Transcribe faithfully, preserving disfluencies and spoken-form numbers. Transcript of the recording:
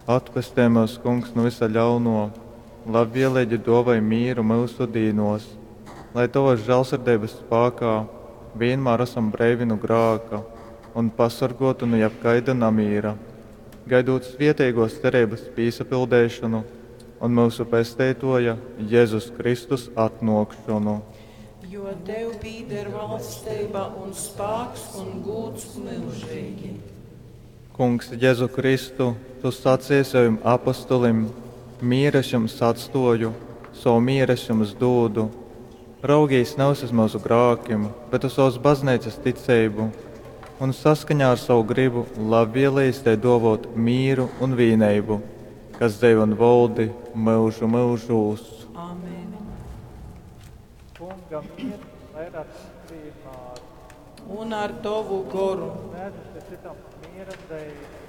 Atpestej myus, Kungs, nu vysa ļaunuo, labvieleigi duovoj mīru myusu dīnuos, lai Tovys žālsirdeibys spākā vīnmār asam breivi nu grāka un pasorguoti nu jebkaida namīra, gaidūt svieteiguos cereibys pīsapildeišonu un myusu Pesteituoja Jezus Kristus atnuokšonu. Jo tev pīder valsteiba un spāks un gūds myužeigi. Kungs Jezu Kristu, Tu saceji sovim apostolim, Mīru es jums atstuoju, sovu mīru es jums dūdu. Raugīs nevis uz myusu grākim, bet uz sovas Bazneicas ticeibu un saskaņā ar sovu grybu labvieleigi tai duovuot mīru un vīneibu, kas dzeivo un voldi myužu myužūs. Amen. Kunga miers lai ir ar jums vienmēr. Un ar tovu goru. Sniedzat cytam miera zeimi.